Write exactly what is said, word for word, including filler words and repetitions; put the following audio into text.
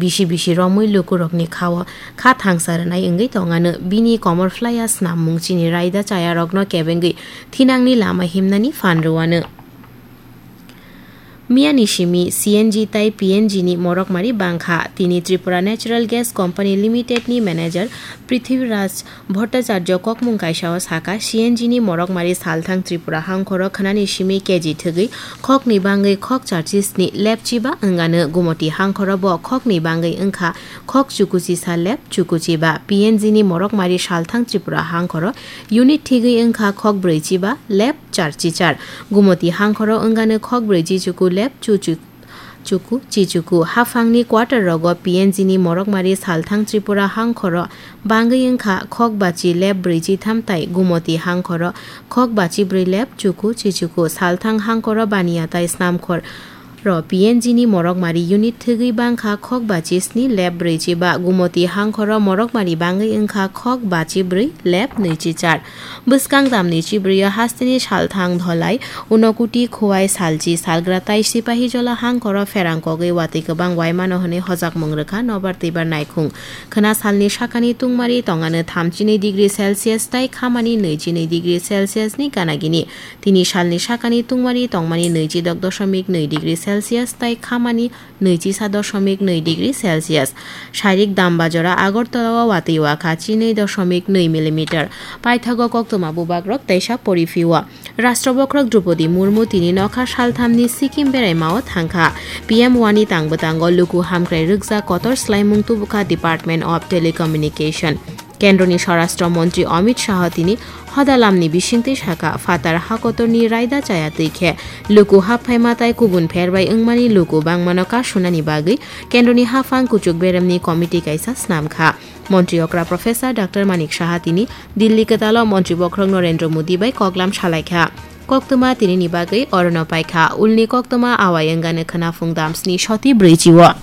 bisi bisi romwi lukurokni khao kha thangsa rwnai wngwi tongano. Bini komor phlaiya snam mung chini raida chayarokno kebengwi thinangni lama himnani phan rwano. Miyani simi C N G tai P N G ni morokmari bangkha. Tini Tripura Natural Gas Company Limited ni manager Prithviraj Bhattacharya kokmung kaisao saka, C N G ni morokmari salthang Tripura hangkhoro khwnani simi K G thwgwi khokni bangwi khok charchi sni lepchiba wngano. Gumoti hangkhoro bo khokni bangwi wngkha khok chukuchisa lep chukuchiba. P N G ni morokmari salthang Tripura hangkhoro unit thwgwi wngkha khok brwichiba lep charchichar. Gumoti hangkhoro wngano khok brwichi chuku lep chuchu chuku chichuku. Haphangni quarter rogo P N G ni morokmari salthang Tripura hangkhoro bangwi wngkha khok bachi lep brwichi tham tai Gumoti hangkhoro khok bachi brwi lep chuku chichuku. Salthang hangkhoro baniya tai snamkhor ro P N G ni morokmari unit thwgwi bangkha khok bachi sni lep brwichi ba. Gumoti hangkhoro morokmari bangwi wngkha khok bachi brwi lep nwichi char. Bwskang tamni chibrwi o hasteni salthang Dholai, Unakoti, Khowai, Salchi, Salgra tai Sipahijola hangkhoro pherang kogwi watwi kwbang waimano hwnwi hojakmung rwkha nobar twibar naikhung. Khwna salni sakani tungmari tongano thamchinwi degree Celsius tai khamani nwichi nwi degree Celsius ni gana gini. Tini salni sakani tungmari tongmani nwichi dok dosomik nwi degree Celsius tai khamani nwichi sa dosomik nwi degree Celsius. Sairik Dambajora Agartala o watwi wakha chinwi dosomik nwi millimeter. Paithago koktwma bubagrok teisa poriphio. Rashtra bokhorok Droupadi Murmu tini nokha salthamni Sikkim beraima o thangkha. P M wani tangbo tango luku hamkrai rwkjak kotor swlaimung tubukha Department of Telecommunication. Kendroni Swarashtra Montri Amit Shah tini hodalamni bisingtwi saka, phatar hakotorni raida chaya twi khe luku haphaima tai kubun pherbai wngmani luku bangmano kasunani bagwi kendroni haphang kuchuk beremni committee kaisa snamkha. Montri okra Professor Doctor Manik Saha tini Delhi kwtalo Montri bokhorok Narendra Modi bai koklam salaikha. Koktwma tinini bagwi orono paikha. Ulni koktwma awai wngano khwnaphung damsni soti brwichi o.